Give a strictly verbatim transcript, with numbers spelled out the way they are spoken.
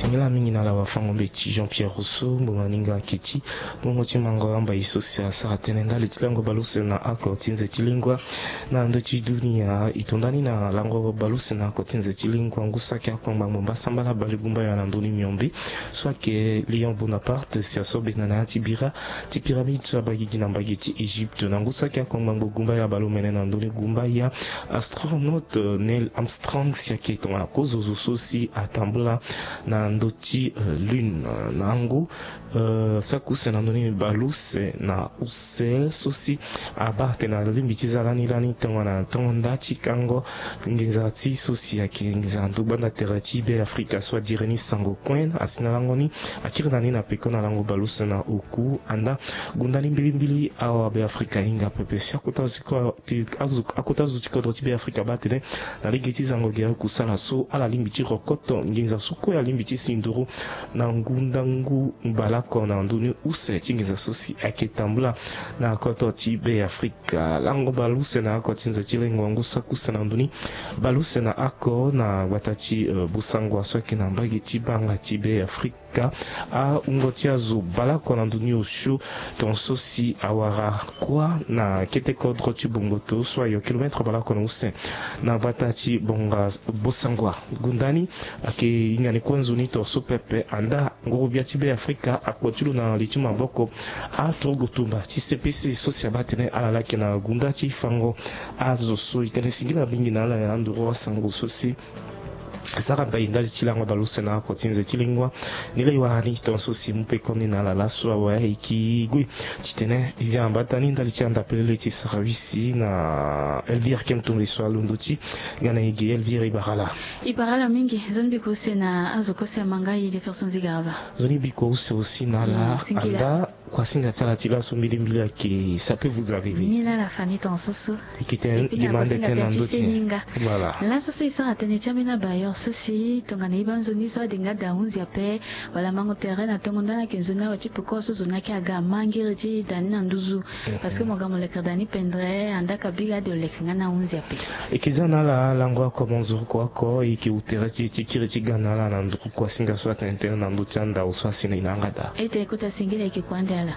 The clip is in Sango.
Singila mingi na ala wafango mbeti Jean-Pierre Rousseau, mbongo ni nga ake ti mbongo ti mango amba ye so si asara tënë ndali ti lango baleuse na oko ti nze ti lingua na ndö ti dunia. E tonda ni na lango baleuse na oko ti nze ti lingua ngu so ake akongba ngbongbasambala balegumbaya na ndö ni miombe so ake Léon Bonaparte si aso bena na ya ti bira ti pyramide so abagigi na mbage ti Égypte na ngu so ake akongba ngbongbasambala baleomene na ndö ni gumbaya astronaute Neil Armstrong si ake tongana kozo zo so si atambula na ndö ti lune na ngu. Saki use na ndö ni baleuse na use so si abaa tene alingbi ti za lani lani tongana tongo nda ti kango nginza ti so si ake nginza na ndö gbanda tere ti Be Afrika so adiri ni sango kuen asi na lango ni. Akiri na ni na peko na lango baleuse na oku anda gunda ni mbilimbili awa Be Afrika ahinga pepe si akota zo ti kodro ti Be Afrika baa tene na lege ti zango gere kusala so ala lingbi ti rokoto nginza so kue alingbi ti si nduru na ngu ndangu baleoko na ndö ni use ti nginza so si ayeke tambula na koto ti Be Afrika. Lango baleuse na oko ti nze ti lingua ngu saki use na ndö ni baleuse na oko na gbata ti Bossangoa so ayeke na mbage ti banga ti Be Afrika. Ahungo ti azo baleoko na ndö ni osio tongaso si awara kuâ na kete kodro ti bongoto so ayo kilometre baleoko na use na gbata ti bonga Bossangoa. Gunda ni ayeke hinga ni kue nzoni tongaso pepe anda nguru-gbia ti Be Afrika akpo ti lo na li ti maboko aturugu tumba ti C P C so si abaa tene ala laki na gunda ti fango azo so e tene singila mingi na ala na nduru asango so si asara mbai ndali ti lango baleuse na oko ti nze ti lingua. Ni laa e wara ni tongaso si e mu pekoni na ala laso awe e yeke gue titene e zia na mbata ni ndali ti anda pelele ti service na Elvire Kem Touré so alondo ti ga na e ge. Elvire, e bara ala. E bara ala mingi. Nzoni biko use na azo kue so e ma nga e Jefferson Zigaraba. Nzoni biko use aussi na ala anda. Kuasinga ti ala ti laso mbilimbili ayeke ça peut vous arriver. Ni laa ala fa ni tongaso so. E yeke tene demande tënë na ndö ti e. Voilà. Laso so e sara tënë ti ambeni abailleur so si tongana e baa nzoni so ade nga ade ahunzi ape wala mango tere na tongo nda ni ayeke nzoni awe ti peko so zo ni ayeke aga mangiri ti da ni na nduzu. Parce que mo ga mo leke da ni pendre anda ka biri ade oleke nga ni ahunzi ape. E yeke za na ala lango oko mo nzurukua oko e yeke wu tere ti e ti kiri ti ga na ala na nduru kuasinga so atene tënë na ndö ti andau so asi na e na yanga daa. E tene kota singila e yeke kua ande ala.